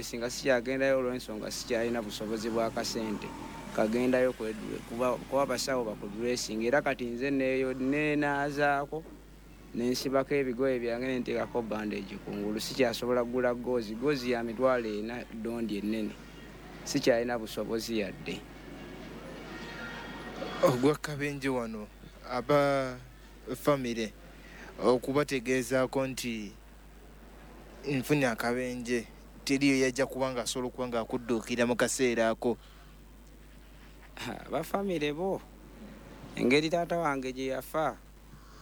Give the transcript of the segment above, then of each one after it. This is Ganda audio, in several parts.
okwedressinga sikyagendayo olw'ensonga sikyalina busobozi bwa kasente kagendayo kuba basawo bakudressinga. Era kati nze neenaazaako nensibako ebigoye byange nenteekako bandage kungulu. Sikyasobola kugula gozi, gozi ya 400,000 dondi ennene, sikyalina busobozi yadde. Ogwa kabenje wano aba famire okubategeezaako nti nfunye akabenje, teriyo yajja kubanga asobola okuba nga akudduukira mu kaseera ako. Abafamire bo engeri taata wange gye yafa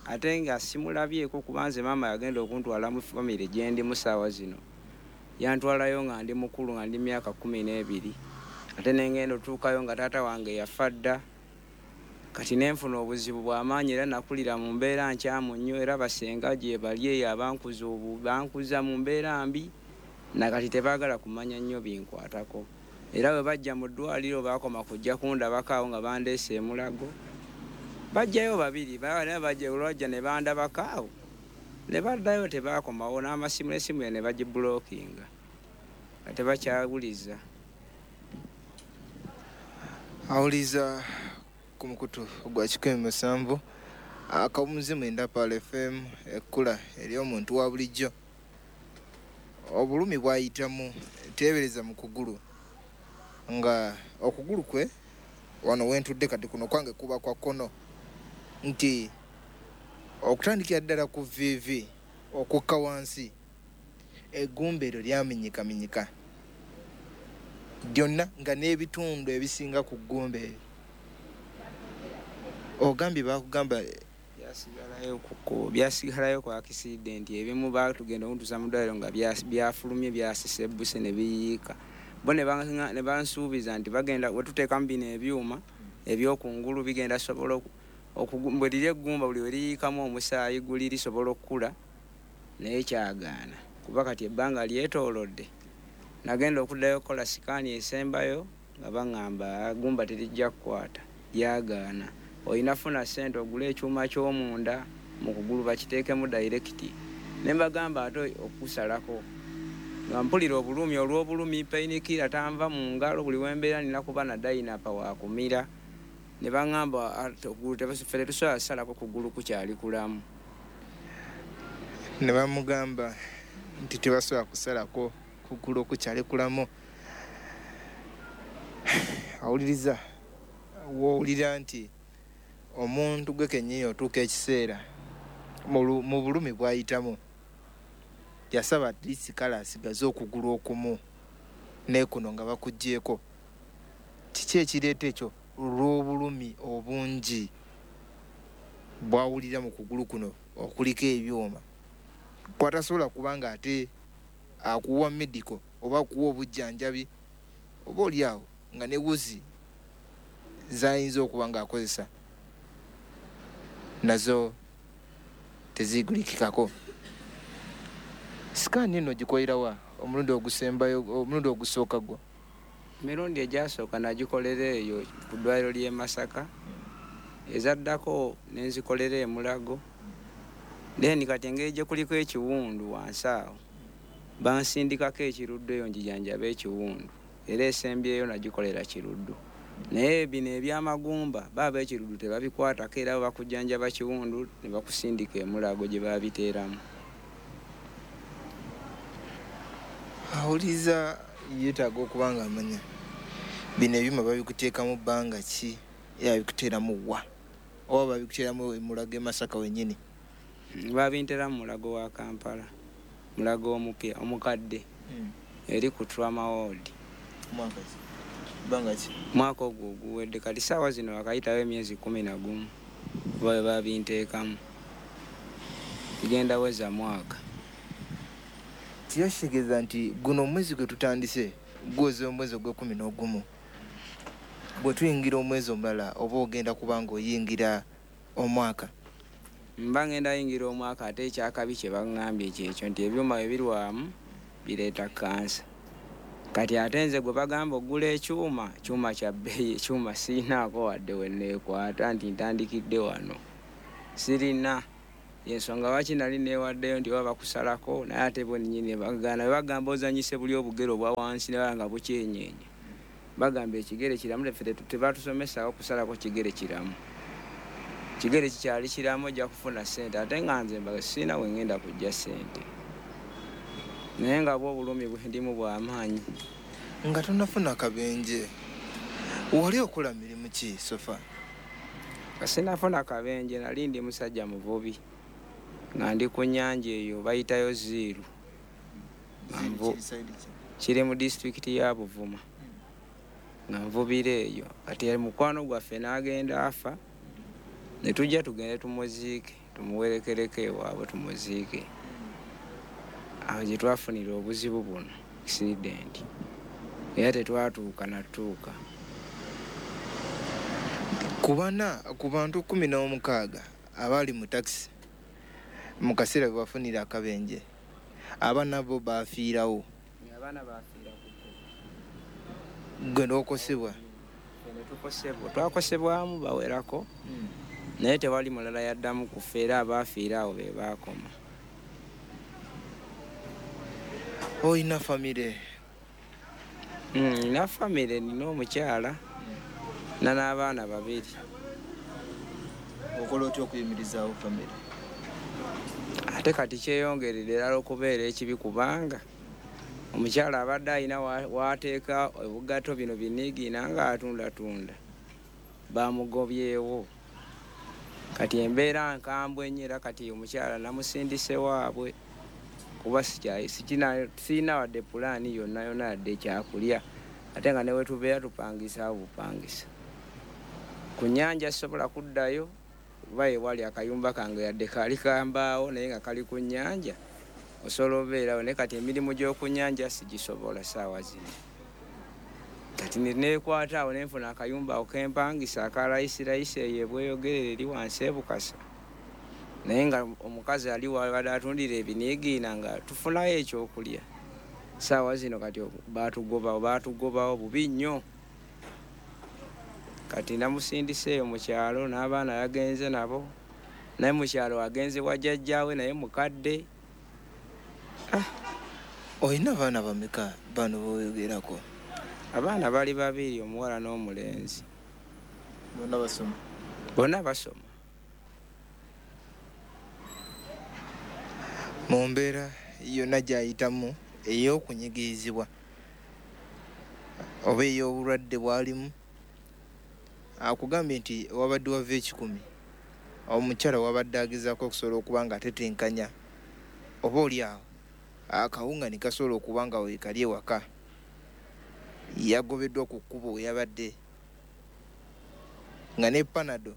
ate nga simulabyeko, kuba nze maama yagenda okuntwala mu famire gye ndi mu ssaawa zino, yantwalayo nga ndi mukulu, nga ndi myaka 12, ate nengenda otuukayo nga taata wange yafa dda. Kati nenfuna obuzibu bw'amaanyi era nakulira mu mbeera nkyamu nnyo, era basenga gye bali eyo abankuza bankuza mu mbeera mbi, nakati tebaagala kumanya nnyo binkwatako. Era bwe bajja mu ddwaliro baakoma kujja kundabako awo nga bandeese e Mulago, bajjayo babiri, bajja olwajja ne bandabako awo ne baddayo, tebaakomawo n'amasimu n'essimu ne bagibulookinga nga tebakyawuliza. Awuliza ku mukutu gwa 107 akawumuzi 9 Pearl FM, ekkula ery'omuntu wa bulijjo. Obulumi bw'ayitamu teebereza mu kugulu, nga okugulu kwe wano wentudde kati kuno kwange kuba kwa kkono, nti okutandikira ddala ku viivi okukka wansi eggumba eryo lyamenyekamenyeka lyonna, nga n'ebitundu ebisinga ku ggumba eryo. Ogambye baakugamba byasigalayo ku accident, ebimu baatugenda okuntuusa mu ddwaliro nga byafulumye, byasise ebbuse ne biyiika. Bo ne bansuubiza nti bagenda we tuteekamu bino ebyuma ebyokungulu bigenda sobola bwe liri eggumba buli we liyiikamu omusaayi guli lisobola okukula, naye kyagaana kuba kati ebbanga lyetoolodde. Nagenda okuddayo okukola sikaani esembayo nga baŋŋamba eggumba terijja kukwata, lyagaana. Olina funa ssente ogule ekyuma ky'omunda mu kugulu bakiteekemu dayirekiti. Ne mbagamba ate okusalako nga mpulira obulumi olw'obulumi, painkiller tanva mu ngalo, buli we mbeera nina kuba na dayinapa waakumira. Ne baŋŋamba okugulu ffe tetusobola kusalako kugulu kukyali kulamu. Ne bamugamba nti tebasobola kusalako kugulu kukyali kulamu. Awuliriza w'owulira nti omuntu gwe kennyini otuuka ekiseera mu bulumi bw'ayitamu, yasaba at least kale asigaze okugulu okumu n'ekuno nga bakuggyeeko. Kiki ekireeta ekyo? Olw'obulumi obungi bw'awulira mu kugulu kuno okuliko ebyuma, kw'atasobola kubanga ate akuwa medical oba akuwa obujjanjabi oba oli awo nga ne wuzi z'ayinza okuba ng'akozesa nazo tezigulikikako. Sikaani eno ogikolera wa omulundi ogusembayo, omulundi ogusooka gwo? Emirundi egyasooka nagikolera eyo ku ddwaliro ly'e Masaka, ezaddako ne nzikolera e Mulago. Then kati engeri gye kuliko ekiwundu wansi awo, bansindikako ekiruddu eyo ngijanjabe ekiwundu, era esembyeyo nagikolera kiruddu. Naye bino ebyamagumba baaba ekiruddu tebabikwatako, era bakujjanjaba kiwundu ne bakusindika e Mulago gye babiteeramu. Awuliza yeetaaga okuba nga amanya bino ebyuma babikuteekamu bbanga ki, era babikuteeramu wa, oba babikuteeramu e Mulago e Masaka wennyini? Babinteeramu Mulago wa Kampala, Mulago omupya omukadde, eri ku Trauma Ward. Mwaka ki? Bbanga ki? Mwaka ogwo oguwedde. Kati ssaawa zino wakayitawo emyezi 11 kuba bwe babinteekamu, bigenda weza mwaka. Kiba kitegeeza nti guno omwezi gwe tutandise guweza omwezi ogw'e11. Bwe tuyingira omwezi omulala oba ogenda kuba ng'oyingira omwaka? Mba ngenda yingira omwaka, ate ekyakabi kye baŋŋambye kyekyo nti ebyuma bwe birwamu bireeta kansa. Kati ate nze gwe bagamba oggula ekyuma, kyuma kya bbeeyi, ekyuma sirinaako wadde we neekwata nti ntandikidde wano, sirina. Yensonga lwaki nali neewaddeyo nti oba bakusalako, naye ate bo nnyini bagaana. Bagamba ozannyise buli obugere obwa wansi ne baba nga bukyenyeenya. Bagamba ekigere kiramu, ffe tebatusomesaawo kusalako kigere kiramu. Kigere kikyali kiramu ojja kufuna ssente, ate nga nze mbaga sirina we ngenda kujja ssente. Naye nga bwo obulumi bwe ndimu bw'amaanyi. Nga tonnafuna kabenje, wali okola mirimu ki sofa? Nga sinnafuna kabenje nali ndi musajja muvubi. Nga ndi ku nnyanja eyo bayitayo Ziiru. Kiri mu disitulikiti ya Buvuma. Nga nvubira eyo. Kati mukwano gwaffe n'agenda afa, ne tujja tugende tumuziike, tumuwerekereko ewaabwe tumuziike. Awo gye twafunira obuzibu buno, accident. Era tetwatuuka natuuka. Ku bana, ku bantu 16 abaali mu takisi mu kaseera bwe bafunira akabenje, abaana bo baafiirawo. Abaana baafiira ku kkubo. Gwe n'okosebwa? Ffe tukosebwa. Twakosebwamu bawerako, naye tewali mulala yaddamu kufa, era abaafiira awo be baakoma. Olina famire? Nina famire, nina omukyala n'abaana babiri. Okola otya okuyimirizaawo famire? Ate kati kyeyongerera erala okubeera ekibi, kubanga omukyala abadde alina waateeka obugatto bino biniigiina ng'atundatunda, bamugobyewo. Kati embeera nkambwe nnyo, era kati omukyala namusindise waabwe kuba sirina wadde pulaani yonna yonna yadde ekyakulya, ate nga ne we tubeera tupangisaawo bupangisa. Ku nnyanja sisobola kuddayo kuba ewali akayumba kange yadde kaali kambaawo naye nga kali ku nnyanja, osobola obeerawo, naye kati emirimu gy'oku nnyanja sigisobola ssaawa zino. Kati neekwata awo ne nfuna akayumba awo kempangisa aka layisi eyo ebweyogerere eri wansi e Bukasa. Naye nga omukazi ali wabadde atundira ebiniigiina nga tufunayo ekyokulya. Ssaawa zino kati baatugobawo bubi nnyo. Kati namusindise eyo mu kyalo n'abaana yagenze nabo, naye mu kyalo agenze wa jjajjaawe naye mukadde. Olina abaana bameka bano b'oyogerako? Abaana bali babiri, omuwala n'omulenzi. Bonna basoma? Bonna basoma. Mu mbeera yonna gy'ayitamu ey'okunyigirizibwa oba ey'obulwadde bw'alimu, akugambye nti wabadde wava 1,000, omukyala wabadde agezaako okusobola okuba nga atetenkanya oba oli awo akawunga ne kasobola okuba nga weekali ewaka, yagobeddwa ku kkubo we yabadde nga ne Panado.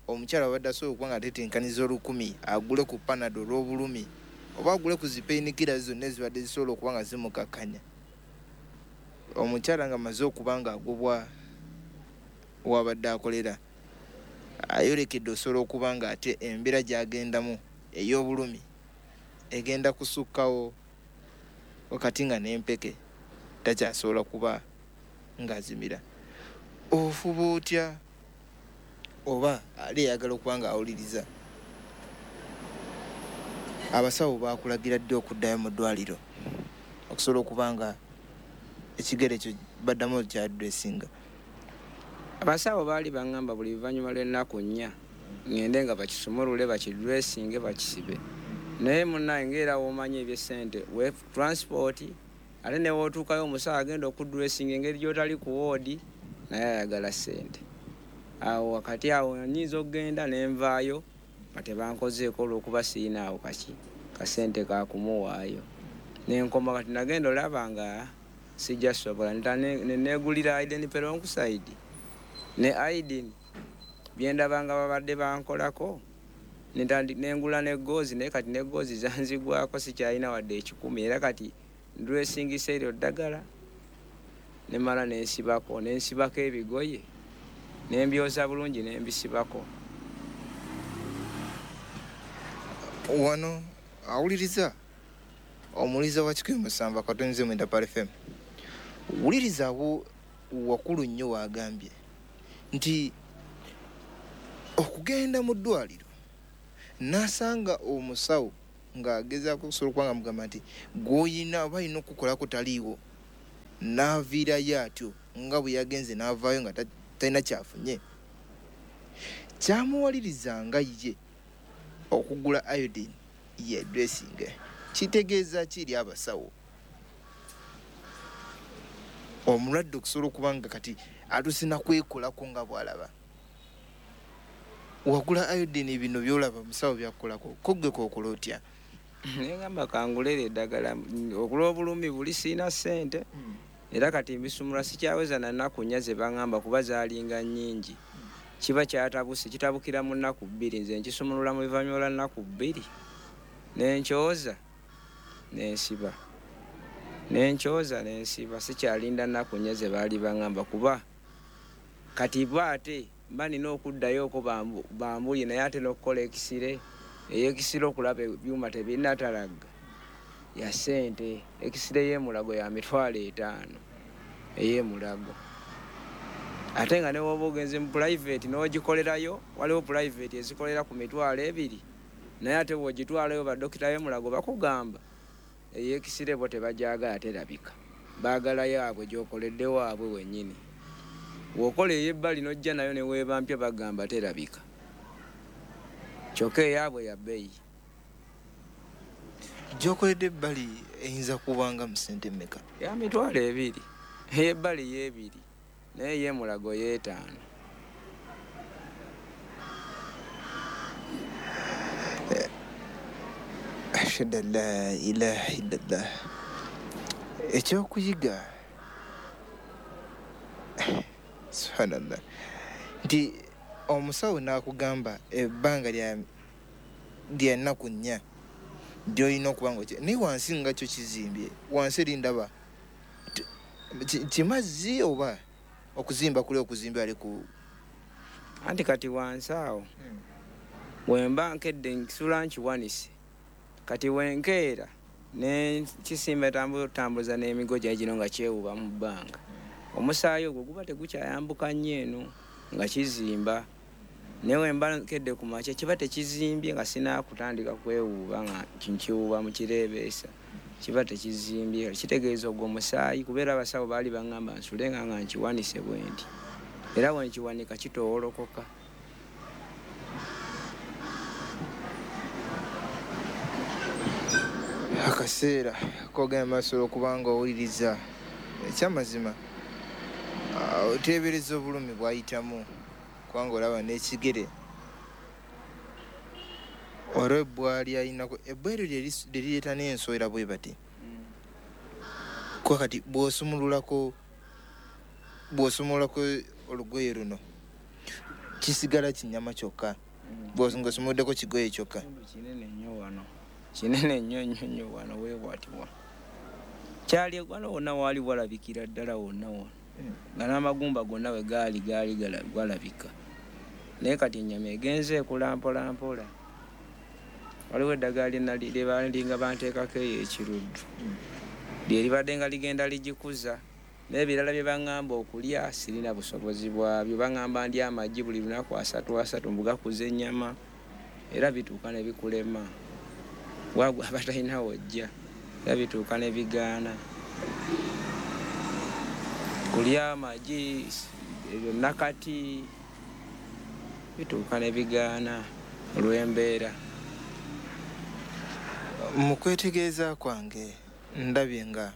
Omukyala wabadde asobola okuba nga atetenkaniza 1,000 agule ku Panado olw'obulumi oba agule ku zi painkillers zonna ezibadde zisobola okuba nga zimukakkanya. Omukyala nga amaze okuba nga agobwa wabadde akolera, ayolekedde osobola okuba nga ate embeera gy'agendamu ey'obulumi egenda kusukkawo wakati nga n'empeke takyasobola kuba ng'azimira. Ofuba otya oba ali eyagala okuba ng'awuliriza? Abasawo baakulagira ddi okuddayo mu ddwaliro okusobola okuba nga ekigere ekyo baddamu kyadressinga? Abasawo baali baŋŋamba buli luvannyuma lw'ennaku 4 ŋŋende nga bakisumulule, bakidressinge, bakisibe. Naye munnaye ng'era w'omanyi eby'essente, we transport, ate ne w'otuukayo omusawo agenda okudressinga engeri gy'otali ku woodi, naye ayagala ssente. Awo wakati awo nnyinza okugenda ne nvaayo nga tebankozeeko olw'okuba sirina awo kaki kasente kakumuwaayo. Ne nkoma kati nagenda olaba nga sijja sobola, ne neegulira Aiden peroxide ne Aiden bye ndaba nga babadde bankolako, nengula ne goozi, naye kati ne goozi zanzigwako sikyalina wadde 1,000, era kati ndressingisa eryo ddagala ne mmala nensibako ebigoye ne mbyoza bulungi ne mbisibako. Wano awuliriza omuwuliriza wa 107.9 Pal FM, wuliriza awo wakulu nnyo wagambye nti okugenda mu ddwaliro N'asanga omusawo ng'agezaako okusobola okuba nga mugamba nti gw'oyina oba alina okukolako taliiwo, n'aviirayo atyo nga bwe yagenze n'avaayo nga talina kyafunye. Kyamuwaliriza nga ye okugula iodine ye dressing. Kitegeeza ki eri abasawo? Omulwadde okusobola okuba nga kati atusina kwekolako nga bw'alaba. Wagula iodine, bino by'olaba musawo byakukolako, ko ggwe kookola otya? Nengamba kangulere eddagala olw'obulumi buli, siina ssente era kati mbisumula sikyaweza na nnaku 4 ze baŋŋamba kuba zaalinga nnyingi. Kiba kyatabuse, kitabukira mu nnaku 2, nze nkisumulula mu luvannyuma lwa nnaku 2 nenkyoza nensiba, nenkyoza nensiba, sikyalinda nnaku 4 ze baali baŋŋamba kuba kati bo ate mba nina okuddayo okwo bambulye, naye ate n'okukola ekisire, ey'ekisire okulaba ebyuma tebinnatalagga ya ssente. Ekisire y'emulago ya 50,000 ey'emulago, ate nga ne bw'oba ogenze mu private n'ogikolerayo, waliwo private ezikolera ku 20,000, naye ate bw'ogitwalayo badokita b'emulago bakugamba ey'ekisire bo tebagyagala, terabika, baagala yaabwe gy'okoledde waabwe wennyini. Bw'okola ey'ebbali n'ojja nayo ne weeba mpya bagamba terabika, kyokka eyaabwe ya bbeeyi. Gy'okoledde ebbali eyinza kubanga mu ssente mmeka? Ya 20,000, ey'ebbali y'ebiri, naye ey'emulago y'etaano. Ashhadu an la ilaha illallah. Ekyokuyiga, subhanallah, nti omusawo n'akugamba ebbanga lya nnaku 4 gy'olina okuba nga naye wansi nga kyo kizimbye, wansi eri ndaba kimazzi oba okuzimba kuli okuzimba ali ku anti kati wansi awo wemba nkedde nsula nkiwanise, kati wenkeera ne kisimba tambuza n'emigo gyange gino nga kyewuba mu bbanga, omusaayi ogwo guba tegukyayambuka nnyo eno nga kizimba, naye wemba nkedde ku makya kiba tekizimbye nga sinaakutandika kwewuuba nga nkiwuuba mu kireebeesa, kiba tekizimbye, kitegeeza ogwo omusaayi kubeera abasawo baali baŋŋamba nsule nga nkiwanise bwe nti, era bwe nkiwanika kitoowolokoka. Akaseera kogenda maaso okuba nga owuliriza ekyamazima, oteebereza obulumi bw'ayitamu kubanga olaba n'ekigere olw'ebbwa ly'alinako, ebbwa eryo lye lireeta n'ensowera bwe bati. Kuba kati bw'osumululako olugoye luno kisigala kinyama kyokka, ng'osumuluddeko kigoye kyokka. Kinene nnyo wano, kinene nnyo nnyo nnyo wano weewatibwa. Kyali wano wonna waali walabikira ddala wonna wano, nga n'amagumba gonna we gaali gaali galabika, naye kati ennyama egenze ekula mpola mpola. Waliwo eddagala lye balinga banteekako eyo ekiruddu, lye libadde nga ligenda ligikuza, n'ebirala bye baŋŋamba okulya sirina busobozi bwabyo. Baŋŋamba ndya amagi buli lunaku 3 3 mbu gakuza ennyama, era bituuka ne bikulema, wagwa abatalina wojja, era bituuka ne bigaana kulya amagi ebyo nakati bituuka ne bigaana olw'embeera. Mu kwetegereza kwange ndabye nga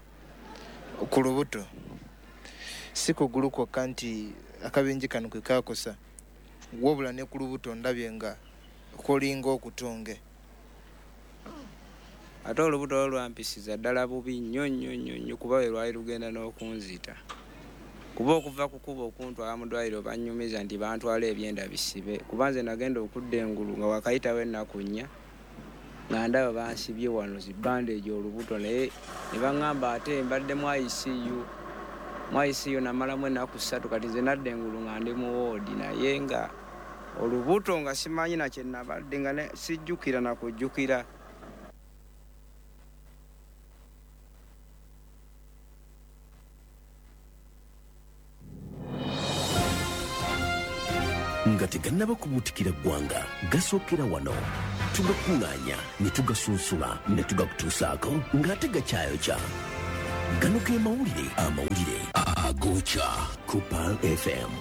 ku lubuto si kugulu kwokka nti akabenje kano kwe kaakosa, wabula ne ku lubuto ndabye nga kulinga okutunge. Ate olubuto olwo lwampisiza ddala bubi nnyo nnyo nnyo nnyo kuba lwe lwali lugenda n'okunzita, kuba okuva ku kkubo okuntwala mu ddwaliro bannyumiza nti bantwala ebyenda bisibe, kuba nze nagenda okudda engulu nga wakayitawo ennaku 4 nga ndaba bansibye wano zi bandage olubuto, naye ne baŋŋamba ate mbadde mu ICU, mu ICU namalamu ennaku 3, kati nze nadda engulu nga ndi mu woodi, naye nga olubuto nga simanyi na kye nabadde, nga sijjukira na kujjukira. Nga tegannaba kubuutikira ggwanga, gasookera wano. Tugakuŋŋaanya ne tugasunsula ne tugakutuusaako ng'ate gakyayokya. Gano ge mawulire, amawulire agookya ku Pearl FM.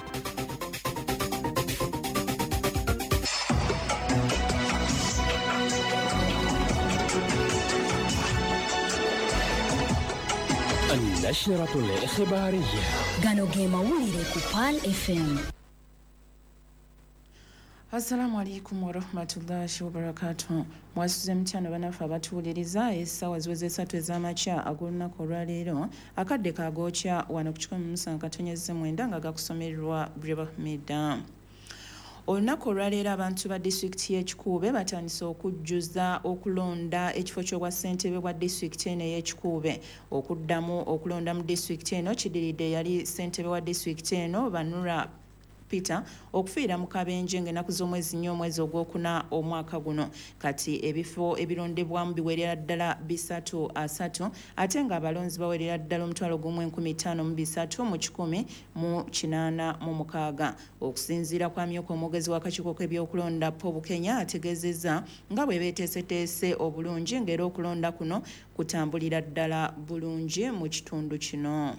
النشرة الإخبارية. Gano ge mawulire ku Pearl FM. Assalamu alaikum warahmatullahi wabarakatuh. Mwasuze mutya bannaffe abatuwuliriza. Essaawa ziweze 3 ez'amakya ag'olunaku olwaleero, akadde kagookya wano ku 107.9 nga gakusomererwa Breba Mida. Olunaku olwaleero abantu ba disitulikiti y'Ekikuube batandise okujjuza okulonda ekifo ky'obwa ssentebe bwa disitulikiti eno ey'Ekikuube. Okuddamu okulonda mu disitulikiti eno kidiridde eyali ssentebe wa disitulikiti eno Banura Peter okufiira mu kabenje ng'ennaku z'omwezi 4 omwezi ogwokuna omwaka guno. Kati ebifo ebirondebwamu biwerera ddala 330, ate ng'abalonzi bawerera ddala 1,503,186. Okusinziira kwa myuka omwogezi w'akakiiko k'ebyokulonda Paul Bukenya, ategeezezza nga bwe beeteeseteese obulungi ng'era okulonda kuno kutambulira ddala bulungi mu kitundu kino.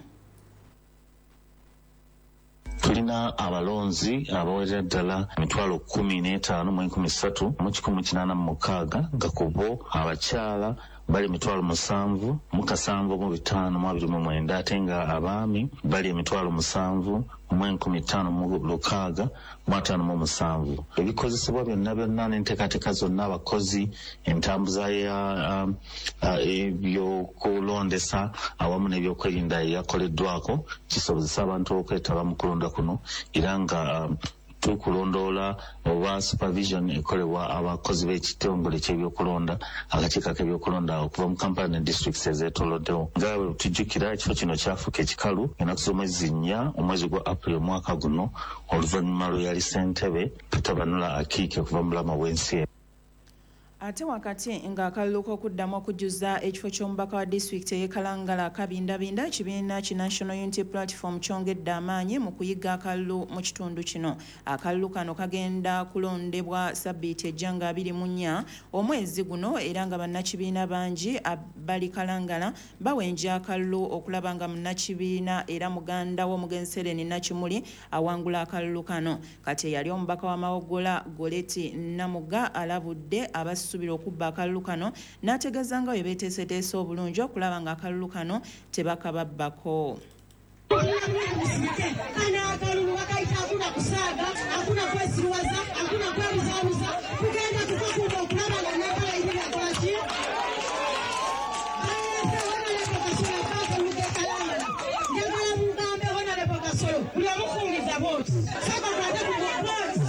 Tulina abalonzi abawerera ddala 15,300,186, nga ku bo abakyala bali 7,705,29, ate nga abaami bali 7,506,57. Ebikozesebwa byonna byonna n'enteekateeka zonna, abakozi, entambuza ya ebyokulondesa awamu n'ebyokwerinda eyakoleddwako kisobozesa abantu okwetaba mu kulonda kuno, era nga tukulondoola oba supervision ekolebwa abakozi b'ekitongole ky'ebyokulonda, akakiiko k'ebyokulonda okuva mu Kampala ne districts ezeetooloddewo. Nga bwe tujjukira, ekifo kino kyafuuka ekikalu ennaku z'omwezi 4 omwezi gwa April omwaka guno, oluvannyuma lwe yali ssentebe Peter Banula Akiike okuva mu bulamu bw'ensi. Ate wakati ng'akalulu k'okuddamu okujjuza ekifo ky'omubaka wa disitulikiti ey'e Kalangala kabindabinda, ekibiina ki National Unity Platform kyongedde amaanyi mu kuyiga akalulu mu kitundu kino. Akalulu kano kagenda kulondebwa sabbiiti ejja nga 24 omwezi guno, era nga bannakibiina bangi bali Kalangala bawenja akalulu okulaba nga munnakibiina era muganda w'omugenzi Hellen Nakimuli awangula akalulu kano. Kati eyali omubaka wa Mawogola Goleti Namuga alabudde abasuubira okubba akalulu kano, n'ategeeza nga bwe beeteeseteese obulungi okulaba nga akalulu kano tebakababbako. Kano akalulu bakayita hakuna kusaaga, hakuna kwesiruwaza, hakuna kwebuzaabuza, tugenda tukakuba okulaba nga nakalayirira akolaki. Njagala mugambe Honorable Kasolo, buli omufungiza bwoti sooka kwate ku bwoti,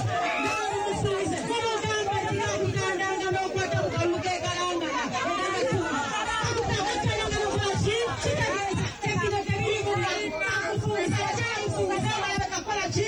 mufungize mumugambe nti n'okwata ku kalulu k'e Kalangala. Kitegeeza ebino tebirimu akufungiza, akyamufungiza abalaba kakola ki.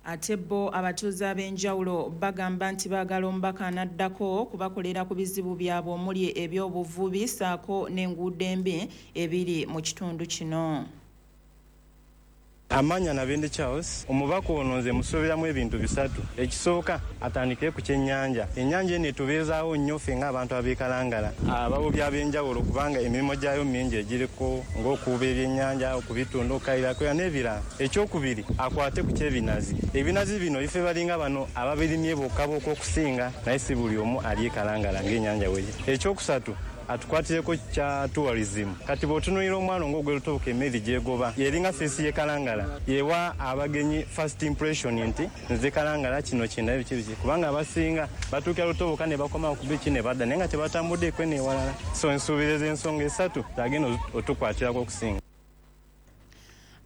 Ate bo abatuuze ab'enjawulo bagamba nti baagala omubaka anaddako kubakolera ku bizibu byabwe omuli ebyobuvubi ssaako n'enguudo embi ebiri mu kitundu kino. Amanya Nabende Charles, omubaka ono nze musuubiramu ebintu bisatu. Ekisooka, atandikire ku kyennyanja. Ennyanja eno etubeezaawo nnyo ffe ng'abantu ab'e Kalangala, abavubi ab'enjawulo, kubanga emirimu gyayo mingi egiriko ng'okuvuba ebyennyanja, okubitunda, okukayirako n'ebirala. Ekyokubiri, akwate ku ky'ebinazi. Ebinazi bino ife balinga bano ababirimye bokka bokka okusinga, naye si buli omu ali e Kalangala ng'ennyanja weri. Ekyokusatu, atukwatireko kya tourism. Kati bw'otunuulira omwalo ng'ogw'e emmeri gy'egoba yeringa face y'e Kalangala, yewa abagenyi first impression nti nze Kalangala kino kindabe biki biki, kubanga abasinga batuukira Lutoboka ne bakoma ku biki ne badda, naye nga tebatambuddeeko n'ewalala. So nsuubiriza ensonga esatu zagenda otukwatirako okusinga.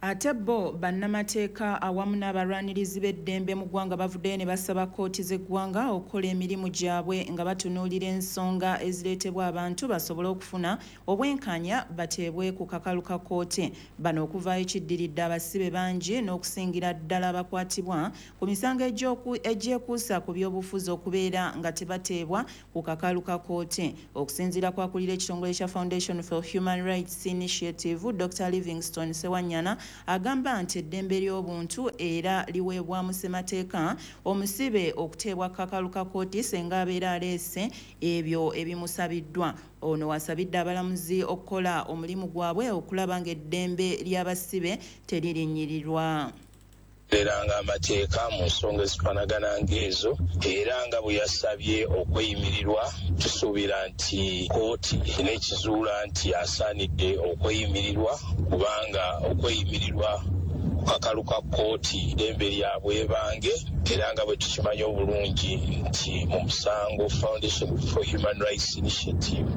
Ate bo bannamateeka awamu n'abalwanirizi b'eddembe mu ggwanga bavuddeyo ne basaba kkooti z'eggwanga okukola emirimu gyabwe nga batunuulira ensonga ezireetebwa abantu basobole okufuna obwenkanya bateebwe ku kakalu ka kkooti. Bano okuvaayo kiddiridde abasibe bangi n'okusingira ddala abakwatibwa ku misango egyekuusa ku byobufuzi okubeera nga tebateebwa ku kakalu ka kkooti. Okusinziira kw'akulira ekitongole kya Foundation for Human Rights Initiative, Dr. Livingstone Sewanyana, agamba nti eddembe ly'obuntu era liweebwa mu ssemateeka omusibe okuteebwa kakalu ka kkooti singa abeera aleese ebyo ebimusabiddwa. Ono wasabidde abalamuzi okukola omulimu gwabwe okulaba ng'eddembe ly'abasibe teririnnyirirwa. Eranga amateeka mu nsonga ezifaanagana ng'ezo, era nga bwe yasabye okweyimirirwa, tusuubira nti kkooti n'ekizuula nti asaanidde okweyimirirwa, kubanga okweyimirirwa ku kakalu ka kkooti ddembe lya bwebange, era nga bwe tukimanyi obulungi nti mu musango Foundation for Human Rights Initiative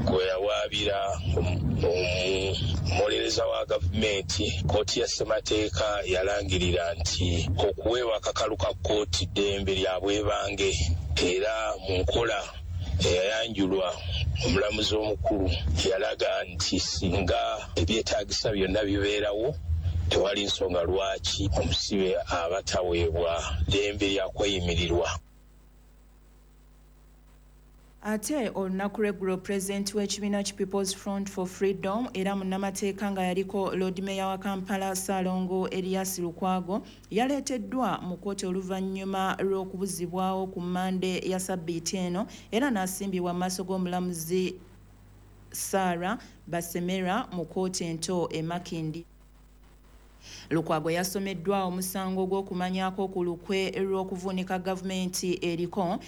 gwe yawaabira omuwolereza wa gavumenti, kkooti ya ssemateeka yalangirira nti okuweebwa akakalu ka kkooti ddembe lya bwebange, era mu nkola eyayanjulwa omulamuzi omukulu yalaga nti singa ebyetaagisa byonna bibeerawo, tewali nsonga lwaki omusibe aba taweebwa ddembe lya kweyimirirwa. Ate olunaku lw'eggulo pulezidenti w'ekibiina ki People's Front for Freedom era munnamateeka nga yaliko Lord Mayor wa Kampala Ssaalongo Erias Lukwago yaleeteddwa mu kkooti oluvannyuma lw'okubuzibwawo ku Mmande ya ssabbiiti eno, era n'asimbibwa mu maaso g'omulamuzi Sarah Basemera mu kkooti ento e Makindye. Lukwago yasomeddwa omusango gw'okumanyaako ku lukwe lw'okuvuunika gavumenti eriko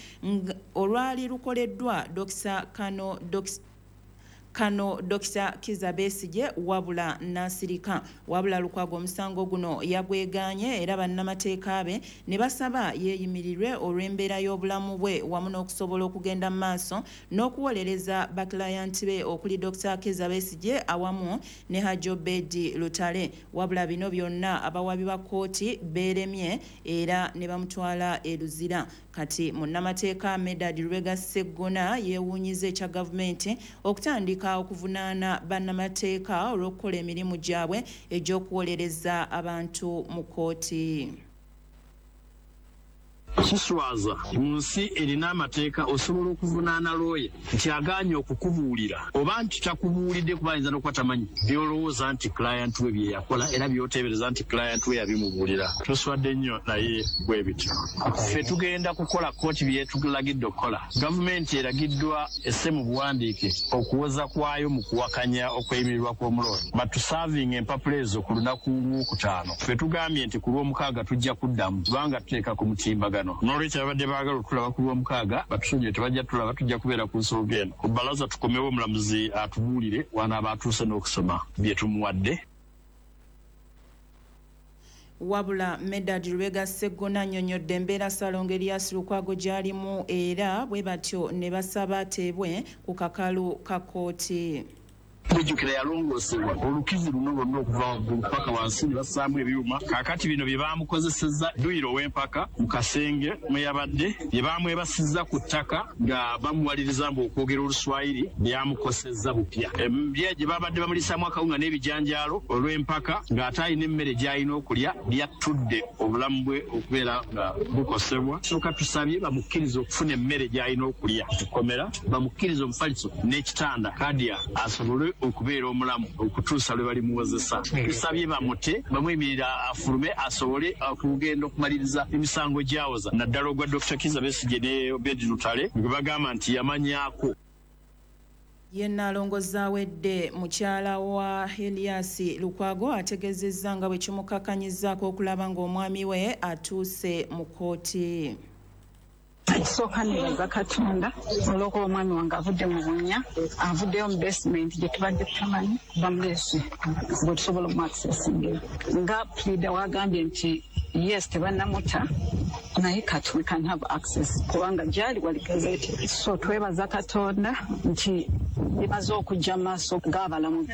olwali lukoleddwa Kano Dr. Kizza Besigye, wabula n'asirika. Wabula Lukwago omusango guno yagwegaanye era bannamateeka be ne basaba yeeyimirirwe olw'embeera y'obulamu bwe wamu n'okusobola okugenda mu maaso n'okuwolereza bakilayanti be okuli Dr. Kizza Besigye awamu ne Hajji Obedi Lutale. Wabula bino byonna abawabi ba kkooti beeremye era ne bamutwala e Luzira. Kati munnamateeka Medard Lubega Sseggona yeewuunyiza ekya gavumenti okutandika okuvunaana bannamateeka olw'okukola emirimu gyabwe egy'okuwolereza abantu mu kkooti. Kiswaza mu nsi erina amateeka osobola okuvunaana looya nti agaanye okukubuulira oba nti takubuulidde, kuba ayinza n'okuba tamanyi by'olowooza nti client we bye yakola era by'oteebereza nti client we yabimubuulira. Tuswadde nnyo, naye bwe bityo. Ffe tugenda kukola kkooti byetulagidde okukola. Gavumenti eragiddwa esse mu buwandiike okuwoza kwayo mu kuwakanya okweyimirirwa kw'omulooya, batuservinga empapula ezo ku lunaku lwokutaano. Ffe tugambye nti ku lwomukaaga tujja kuddamu, kubanga tuteeka ku mutimbagano. N'olwekyo abadde baagala okutulaba ku lwomukaaga batusonyiwe, tebajja tulaba, tujja kubeera ku nsonga eno ku bbalaza, tukomewo omulamuzi atubuulire wanaaba atuuse n'okusoma bye tumuwadde. Wabula Medard Lubega Sseggona annyonnyodde embeera Ssaalongo Erias Lukwago gy'alimu, era bwe batyo ne basaba ateebwe ku kakalu ka kkooti. Mujjukira yalongoosebwa olukizi luno lwonna okuva waggulu paka wansi ne bassaamu ebyuma. Kaakati bino bye baamukozesezza dduyiro ow'empaka mu kasenge mwe yabadde, bye baamwebasizza ku ttaka nga bamuwaliriza mbu okwogera Oluswayiri, byamukosezza bupya. Emmere gye babadde bamuliisaamu akawunga n'ebijanjaalo olw'empaka ng'ate alina emmere gy'alina okulya, byattudde obulamu bwe okubeera nga bukosebwa. Sooka tusabye bamukkirize okufuna emmere gy'alina okulya mu kkomera, bamukkirize omufaliso n'ekitanda kadya asobole okubeera omulamu okutuusa lwe balimuwozesa. Tusabye bamute, bamuyimirira afulume asobole okugenda okumaliriza emisango gyawoza, naddala ogwa Dr. Kizza Besigye ne Obedi Lutale gwe bagamba nti yamanyaako. Ye Nnaalongo Zawedde, mukyala wa Elias Lukwago, ategeezezza nga bwe kimukakanyizzaako okulaba ng'omwami we atuuse mu kkooti. Ekisooka, nebaza Katonda olw'okuba omwami wange avudde mu bunnya, avuddeyo mu basement gye tubadde tutamanyi bamuleese bwe tusobola omuaccessingira. Nga pleader wagambye nti yes, tebannamuta, naye kati we can have access kubanga gyali wali gazetted. So twebaza Katonda nti bimaze okujja mu maaso g'abalamu.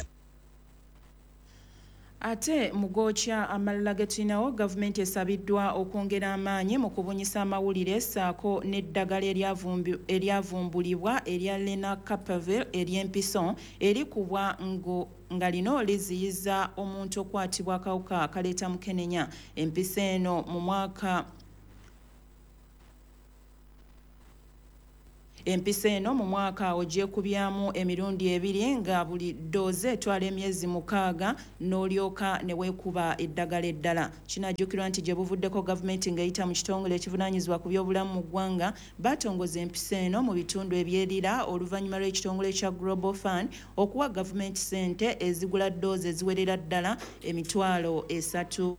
Ate mu gookya amalala ge tulinawo, gavumenti esabiddwa okwongera amaanyi mu kubunyisa amawulire ssaako n'eddagala eryavumbulibwa erya Lenacapavir ery'empiso erikubwa nga lino liziyiza omuntu okukwatibwa akawuka akaleeta mukenenya. Empiso eno mu mwaka Empiso eno mu mwaka ogyekubyamu emirundi ebiri nga buli ddoozi etwala emyezi 6 n'olyoka ne weekuba eddagala eddala. Kinajjukirwa nti gye buvuddeko gavumenti ng'eyita mu kitongole ekivunaanyizibwa ku byobulamu mu ggwanga batongoza empiso eno mu bitundu ebyerira oluvannyuma lw'ekitongole kya Global Fund okuwa gavumenti ssente ezigula ddoozi eziwerera ddala 300,000.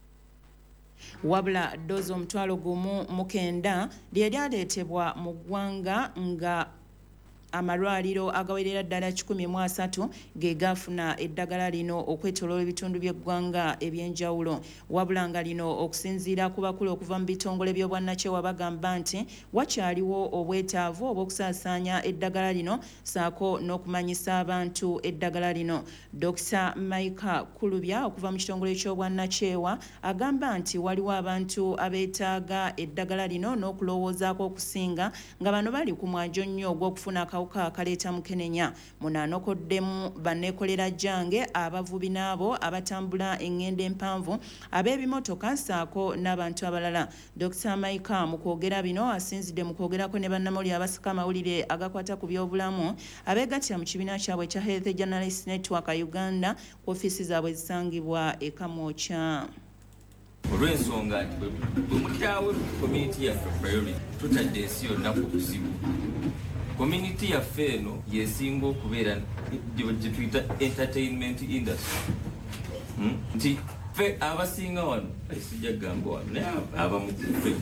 Wabula ddoozi 1,900 lye lyaleetebwa mu ggwanga nga amalwaliro agawerera ddala 130 ge gafuna eddagala lino okwetooloola ebitundu by'eggwanga eby'enjawulo. Wabula nga lino okusinziira ku bakulu okuva mu bitongole by'obwannakyewa bagamba nti wakyaliwo obwetaavu obw'okusaasaanya eddagala lino ssaako n'okumanyisa abantu eddagala lino. Dr. Micah Kulubya okuva mu kitongole ky'obwannakyewa agamba nti waliwo abantu abeetaaga eddagala lino n'okulowoozaako okusinga nga bano bali ku mwanjo nnyo ogw'okufuna akawuka akaleeta mukenenya. Muno anokoddemu banneekolera jjange, abavubi n'abo abatambula eŋŋendo empanvu, ab'ebimotoka ssaako n'abantu abalala. Dr. Micah mu kwogera bino asinzidde mu kwogerako ne bannamawulire abasaka amawulire agakwata ku byobulamu abeegattira mu kibiina kyabwe ekya Health Journalists Network Uganda ku ofiisi zaabwe ezisangibwa e Kamwokya. Olw'ensonga nti bwe mutaawe community yaffe priority, tutadde ensi yonna ku buzibu. Community yaffe eno yesinga okubeera gye tuyita entertainment industry. Nti ffe abasinga wano, sijja kugamba wano, naye abamu ffe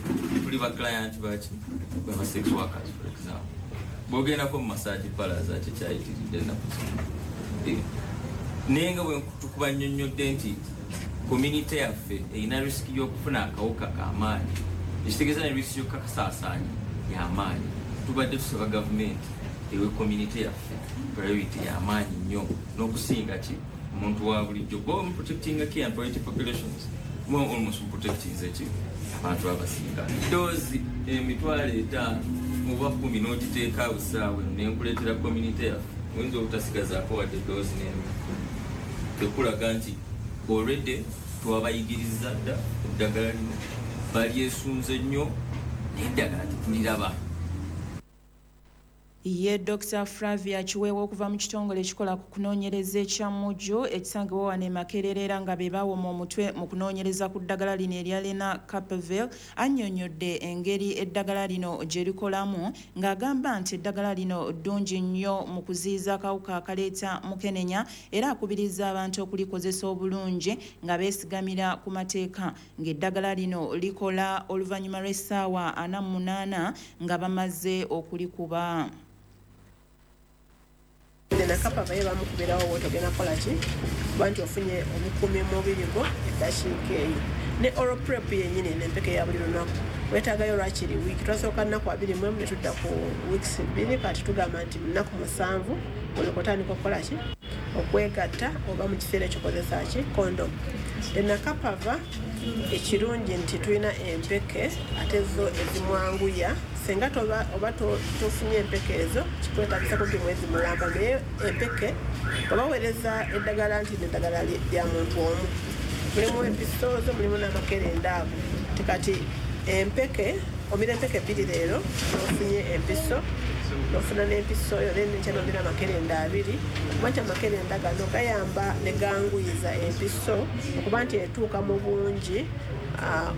tuli ba client baki baba sex workers, for example. Bw'ogendako mu massage parlours ate kyayitiridde ennaku zino. Naye nga bwe tukuba nnyonnyodde nti community yaffe erina risk y'okufuna akawuka k'amaanyi, ekitegeeza ne risk y'okukakasaasaanya y'amaanyi. Tubadde tusaba gavumenti ewe community yaffe priority y'amaanyi nnyo n'okusinga ki omuntu wa bulijjo. Bo protecting key and priority populations, bo almost protecting ki abantu abasinga. Doozi 5,000 oba 10 n'ogiteeka awo essaawa eno nenkuleetera community yaffe, oyinza obutasigazaako wadde doozi n'emu. Tekulaga nti already twabayigiriza dda eddagala lino, balyesunze nnyo naye eddagala tetuliraba. Ye Dr. Flavia Kiweewa okuva mu kitongole ekikola ku kunoonyereza ekya Muju ekisangibwa wano e Makerere era nga be bawoma omutwe mu kunoonyereza ku ddagala lino erya Lenacapavir annyonnyodde engeri eddagala lino gye likolamu ng'agamba nti eddagala lino ddungi nnyo mu kuziyiza akawuka akaleeta mukenenya era akubiriza abantu okulikozesa obulungi nga beesigamira ku mateeka ng'eddagala lino likola oluvannyuma lw'essaawa 48 nga bamaze okulikuba. Lenacapavir bamukubirawo wotogenda kukola ki kuba nti ofunye obukuumi mu mubiri gwo eddakiika eyo. Ne oral prep yennyini n'empeke ya buli lunaku weetaagayo lwakiri wiiki. Twasooka nnaku 21 ne tudda ku weeks 2, kati tugamba nti nnaku 7 olyoka otandika okukola ki okwegatta oba mu kiseera ekyo kozesa ki condom. Lenacapavir ekirungi nti tulina empeke ate zo ezimwanguya, singa oba tofunye empeke ezo kikwetaagisa kumpi mwezi mulamba, naye empeke obaweereza eddagala nti eddagala lya muntu omu, mulimu empiso zo, mulimu n'amakerenda ago. Kati empeke omira empeke 2 leero n'ofunye empiso n'ofuna n'empiso yo, then enkya n'omira amakerenda 2, kuba nti amakerenda gano gayamba ne ganguyiza empiso okuba nti etuuka mu bungi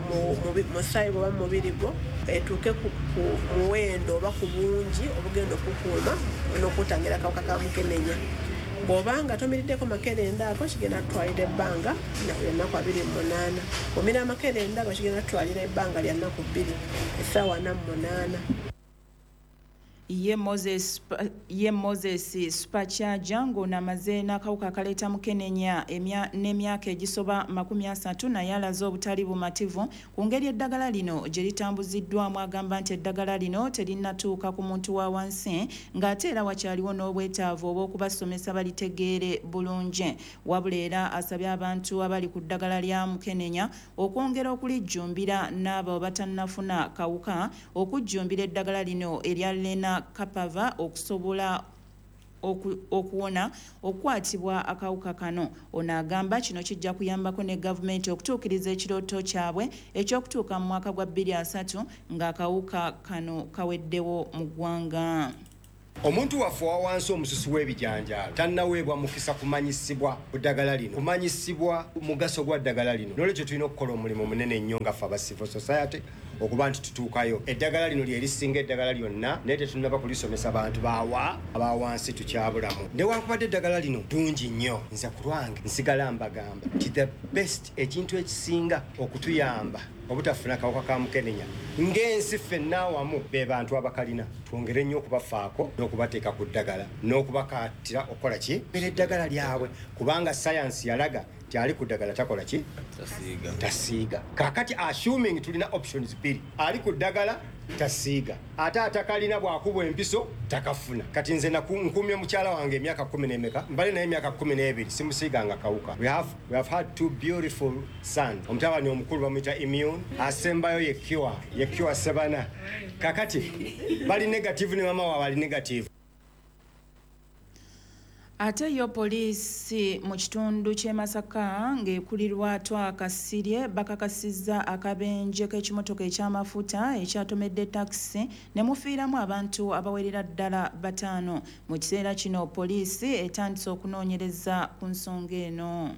mu musaayi gwo oba mu mubiri gwo, etuuke ku muwendo oba ku bungi obugenda okukuuma n'okutangira akawuka ka mukenenya. Bw'obanga tomiriddeko makerenda ago kigenda kutwalira ebbanga lya nnaku 28. Omira amakerenda ago kigenda kutwalira ebbanga lya nnaku 2, essaawa 48. Ye Moses Supercharger ng'ono amaze n'akawuka akaleeta mukenenya n'emyaka egisoba 30, naye alaze obutali bumativu ku ngeri eddagala lino gye litambuziddwamu. Agamba nti eddagala lino terinnatuuka ku muntu wa wansi, ng'ate era wakyaliwo n'obwetaavu obw'okubasomesa balitegeere bulungi. Wabula era asabye abantu abali ku ddagala lya mukenenya okwongera okulijjumbira, n'abo batannafuna kawuka okujjumbira eddagala lino erya Lenacapavir okusobola okuwona okukwatibwa akawuka kano. Ono agamba kino kijja kuyambako ne gavumenti okutuukiriza ekirooto kyabwe ekyokutuuka mu mwaka gwa 2030 ng'akawuka kano kaweddewo mu ggwanga. Omuntu waffe owa wansi, omususi w'ebijanjaalo, tannaweebwa mukisa kumanyisibwa ku ddagala lino, kumanyisibwa mugaso gwa ddagala lino. Nolwekyo tulina okukola omulimu munene nnyo nga ffe aba civil society okuba nti tutuukayo. Eddagala lino lyerisinga eddagala lyonna, naye tetunnaba kulisomesa bantu bawa abawansi, tukyabulamu. Newankubadde eddagala lino ddungi nnyo, nze ku lwange nsigala mbagamba nti the best, ekintu ekisinga okutuyamba obutafuna kawuka ka mukenenya ng'ensi ffenna awamu, be bantu abakalina. Twongere nnyo okubafaako n'okubateeka ku ddagala n'okubakaatira okukola ki era eddagala lyabwe, kubanga sayansi yalaga nti ali ku ddagala takola ki? Tasiiga. Kakati assuming tulina options bbiri, ali ku ddagala tasiiga, ate atakalina bwakubwa empiso takafuna. Kati nze nkumye mukyala wange emyaka 10 nemeka, mbale naye emyaka 12, simusiiganga kawuka. We have had two beautiful sons. Omutabani omukulu bamuyita Immune, asembayo ye Cure, ye Cure Sebana. Kakati bali negative ne mama waabwe ali negative. Ate yo poliisi mu kitundu ky'e Masaka ng'ekulirwa Twakasirye bakakasizza akabenje k'ekimotoka eky'amafuta ekyatomedde takisi ne mufiiramu abantu abawerera ddala 5. Mu kiseera kino poliisi etandise okunoonyereza ku nsonga eno.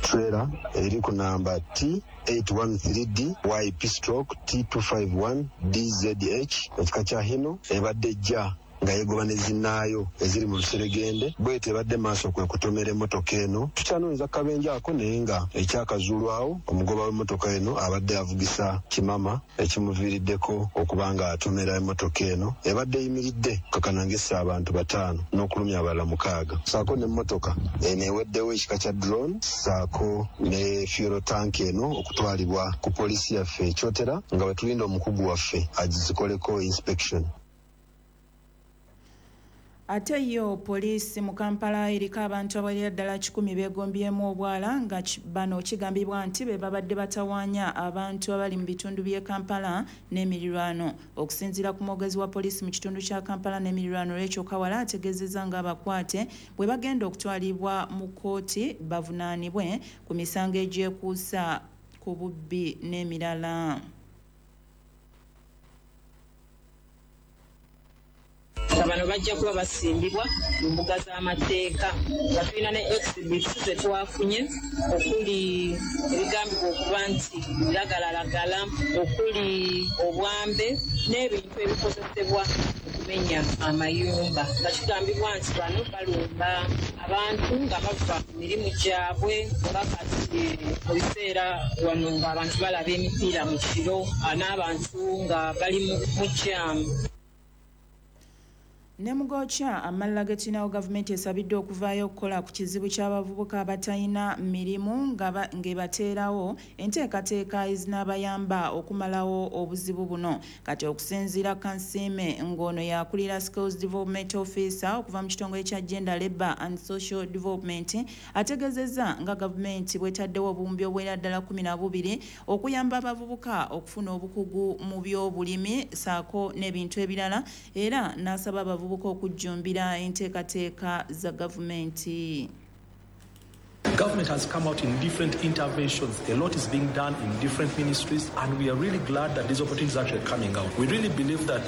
Trailer eri ku namba T 813D YP stroke T251 DZH, ekika kya Hino, ebadde ejja nga yegoba ne zinnaayo eziri mu luseregende, bwete ebadde maaso kwe kutomera emmotoka eno. Tukyanoonyeza kabenje ako, naye nga ekyakazuulwawo, omugoba w'emmotoka eno abadde avugisa kimama ekimuviiriddeko okuba nga atomera emmotoka eno ebadde eyimiridde kakana ng'essa abantu 5 n'okulumya abalala 6, saako n'emmotoka eno eweddewo ekika kya drone, saako ne fuel tank eno okutwalibwa ku poliisi yaffe ekyotera nga bwe tulinda omukugu waffe agizikoleko inspection. Ate yo poliisi mu Kampala eriko abantu abawerera ddala 100 beegombyemu obwala, nga bano kigambibwa nti be babadde batawaanya abantu abali mu bitundu by'e Kampala n'emirirwano. Okusinziira ku mwogezi wa poliisi mu kitundu kya Kampala n'emirirwano, Rachel Kawala, ategeezezza ng'abakwate bwe bagenda okutwalibwa mu kkooti bavunaanibwe ku misango egyekuusa ku bubbi n'emirala. Nga bano bajja kuba basimbibwa mu mbuga z'amateeka, nga tulina ne exhibits zetwafunye, okuli ebigambibwa okuba nti biragalalagala, okuli obwambe n'ebintu ebikozesebwa okumenya amayumba, nga kigambibwa nti bano balumba abantu nga bava mu mirimu gyabwe, nga kati mu biseera wano ng'abantu balaba emipiira mu kiro n'abantu nga bali mu jam. Ne mugokya amalala getulinawo, gavumenti esabiddwa okuvaayo okukola ku kizibu ky'abavubuka abatalina mirimu ng'ebateerawo enteekateeka ezinaabayamba okumalawo obuzibu buno. Kati okusinziira Kansiime, ng'ono yakulira Skills Development Officer okuva mu kitongole kya Gender, Labour and Social Development, ategeezezza nga gavumenti bwetaddewo obuwumbi obuwera ddala 12 okuyamba abavubuka okufuna obukugu mu byobulimi saako n'ebintu ebirala, era n'asaba abavubuka okujjumbira enteekateeka za gavumenti. Government has come out in different interventions. A lot is being done in different ministries, and we are really glad that these opportunities are actually coming out. We really believe that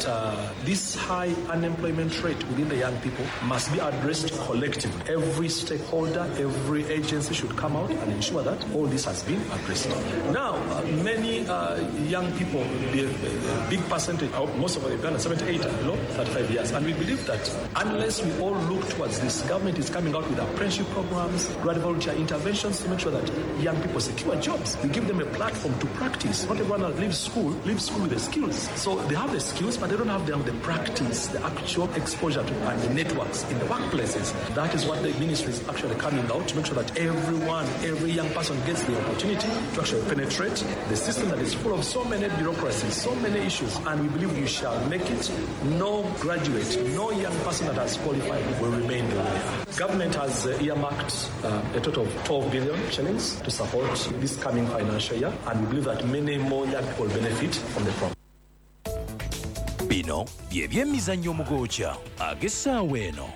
this high unemployment rate within the young people must be addressed collectively. Every stakeholder, every agency should come out and ensure that all this has been addressed. Now, many young people, the big percentage, most of Uganda, 78 are below 35 years, and we believe that unless we all look towards this, government is coming out with apprenticeship programs, graduate volunteer Interventions to make sure that young people secure jobs. We give them a platform to practice. Not everyone that leaves school with the skills. So they have the skills, but they don't have the practice, the actual exposure to and the networks in the workplaces. That is what the ministry is actually coming out to make sure that everyone, every young person gets the opportunity to actually penetrate the system that is full of so many bureaucracies, so many issues, and we believe we shall make it. No graduate, no young person that has qualified will remain the way they are. Government has earmarked a total of 12 billion shillings to support this coming financial year, and we believe that many more young people will benefit from the program. Bino bye byemizannyo mugoocha ag'essaawa eno.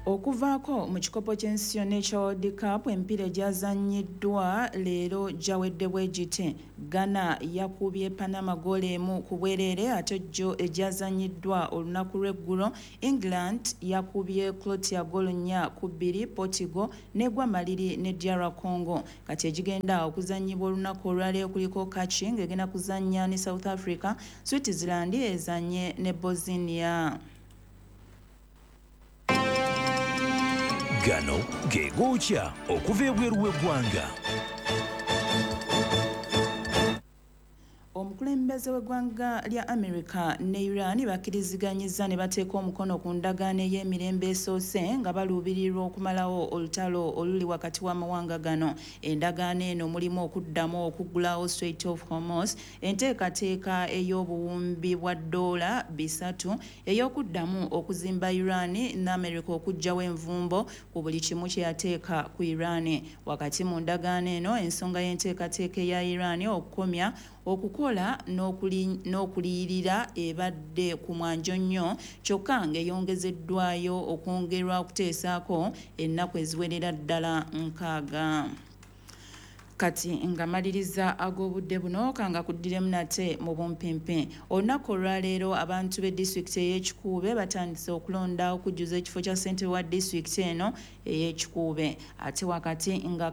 Okuvaako mu kikopo ky'ensi yonna ekya World Cup, emipiira egyazannyiddwa leero gyawedde bwe giti. Ghana yakubye Panama ggoolo 1 ku bwereere, ate gyo egyazannyiddwa olunaku lw'eggulo England yakubye Croatia ggoolo 4-2, Portugal negwa maliri ne DR Congo. Kati egigenda okuzannyibwa olunaku olwaleero kuliko Kachi ng'egenda kuzannya ne South Africa, Switzerland ezannye ne Bosnia. Gano ge gookya okuva ebweru w'eggwanga. Omukulembeze w'eggwanga lya America ne Iran bakkiriziganyizza ne bateeka omukono ku ndagaano ey'emirembe esoose nga baluubirirwa okumalawo olutalo oluli wakati w'amawanga gano. Endagaano eno mulimu okuddamu okuggulawo Strait of Hormuz, enteekateeka ey'obuwumbi bwa $300 ey'okuddamu okuzimba Iran ne America okuggyawo envumbo ku buli kimu kye yateeka ku Iran. Wakati mu ndagaano eno, ensonga y'enteekateeka eya Iran okukomya okukola n'okuliyirira ebadde ku mwanjo nnyo, kyokka ng'eyongezeddwayo okwongerwa okuteesaako ennaku eziwerera ddala 60. Kati nga maliriza ag'obudde buno kanga kuddiremu nate mu bumpimpi. Olunaku olwaleero abantu b'e disitulikiti ey'Ekikuube batandise okulonda okujjuza ekifo kya ssentebe wa disitulikiti eno ey'Ekikuube, ate wakati nga